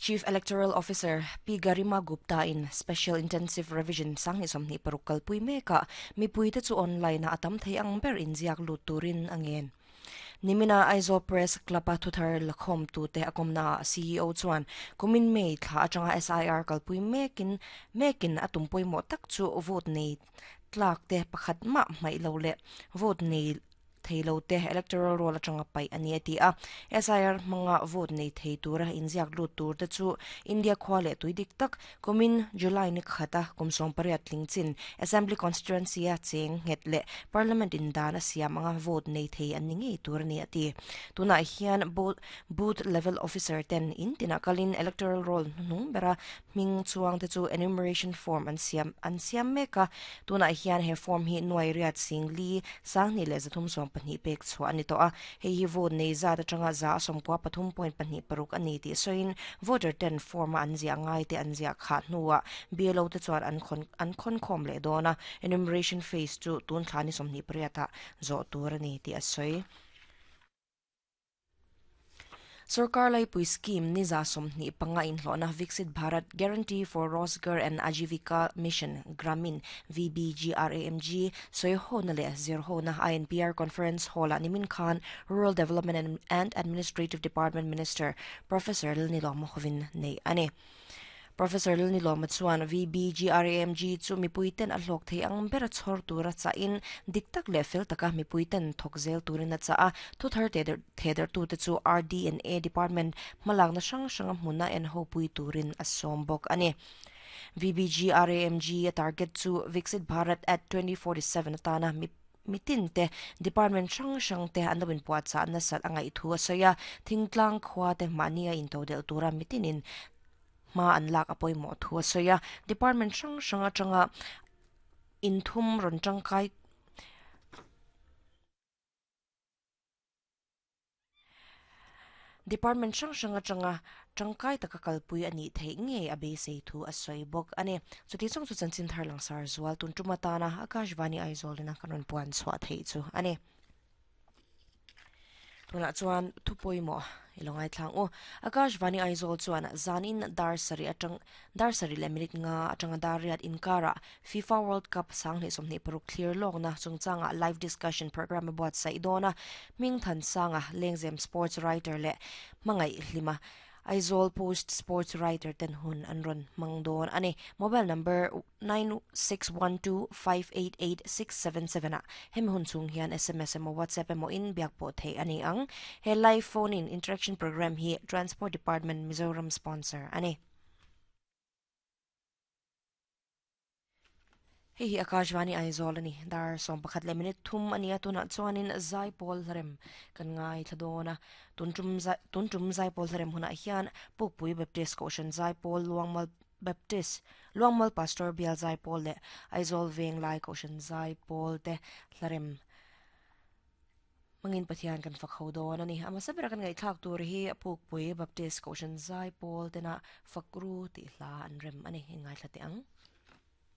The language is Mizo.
Chief Electoral Officer Pi Garima Gupta in Special Intensive Revision 2026 kalpui mekah mipuite chu online-a a tam thei ang ber inziak lut turin a ngen. Nimina Aizawl Press Club-a thuthar lakhawmtute a kawmnaah CEO chuan kumin May thla atanga SIR kalpui mekin mekin a tum pawimawh tak chu vote nei tlak te pakhat mah hmaih lo leh vote nei thei lo te electoral roll atanga paih a ni a ti a. SIR hmanga vote nei thei tura inziak lut tur te chu India khua leh tui dik tak kumin July ni khata kum 18 tling chin Assembly Constituency a cheng nghet leh Parliament in dan a siam anga vote nei thei an ni ngei tur a ni a ti. Tunah hian Booth Level Officer ten in tinah kalin electoral roll hnuhnung bera Hming chuang te chu enumeration form an siam an siam mek a, tunah hian he form hi nuai riat sing li sanghnih leh zathum sawm pahnih pek chhuah a ni tawh a, hei hi vote nei zat atanga za a sawmkua pathum point pahnih paruk a ni tih sawiin voter ten form a an ziah ngai te an ziah khah hnuah BLO te chuan an khawn an khawnkhawm leh dawn a, enumeration phase chu tun thla ni sawmhnih pariatah zawh tur a ni tih a sawi. Sorkar Laipui Scheme ni 25 inhlawhna Viksit Bharat Guarantee for Rozgar and Ajeevika Mission, Gramin, VBGRAMG, sawihona leh zirhona INPR Conference Hall-ah nimin khan Rural Development and Administrative Department Minister Professor Lalnilawma hovin neih a ni. Professor Lalnilawma chuan VBGRAMG chu mipuiten a hlawk thei ang bera chhawr tura chahin dik tak leh fel taka mipuiten thawk zel turin a chah a. Thuthar thehdarhtute chu RD&A Department hmalakna hrang hranga hmuna en hopui turin a sawm bawk a ni. VBGRAMG a target chu Viksit Bharat at 2047 atana mitin te department hrang hrang te an lo inpuahchah nasat a ngaih thu a sawi a. Thingtlang khua te mahni a intodelh tura mitinin hma an lak a pawimawh thu a sawi a, department hrang hrang atanga inthum rawn tangkai department hrang hrang atanga tangkai taka kalpui a nih theih ngei a beisei thu a sawi bawk a ni. Chuti chung chu chanchin thar langsar zual tun tum atana Akashvani Aizawl ina kan rawn puan chhuah theih chu a ni. Tunah chuan thu pawimawh i lo ngaithlang u. Akashvani Aizawl chuan zanin dar sarih atang dar sarih leh minute nga atanga dar riat inkarah FIFA World Cup 2026 thlir lawkna chungchangah live discussion programme a buatsaih dawn a. Hming Thansanga, Lengzem sports writer leh Hmangaih Hlima, Aizawl Post sports writer ten hun an rawn hmang dawn a ni. Mobile number 9612588677 ah hemi hun chhung hian sms emaw WhatsApp emaw in biak pawh theih a ni ang. He live phone in interaction programme hi Transport Department Mizoram sponsor a ni. Hei hi Akashvani Aizawl a ni. Dar 11 leh minute thum a ni a, tunah chuanin Zaipawl hlarem kan ngaithla dawn a. Tun tum tun tum Zaipawl hlarem hunah hian Pukpui Baptist Kohhran Zaipawl Luangmal Baptist Luangmal Pastor Bial Zaipawl leh Aizawl Venglai Kohhran Zaipawl te hlarem hmangin Pathian kan fak ho dawn a ni. A hmasa bera kan ngaihthlak tur hi Pukpui Baptist Kohhran Zaipawl tena Fakru tih hla an rem a ni. Inngaithla teh ang.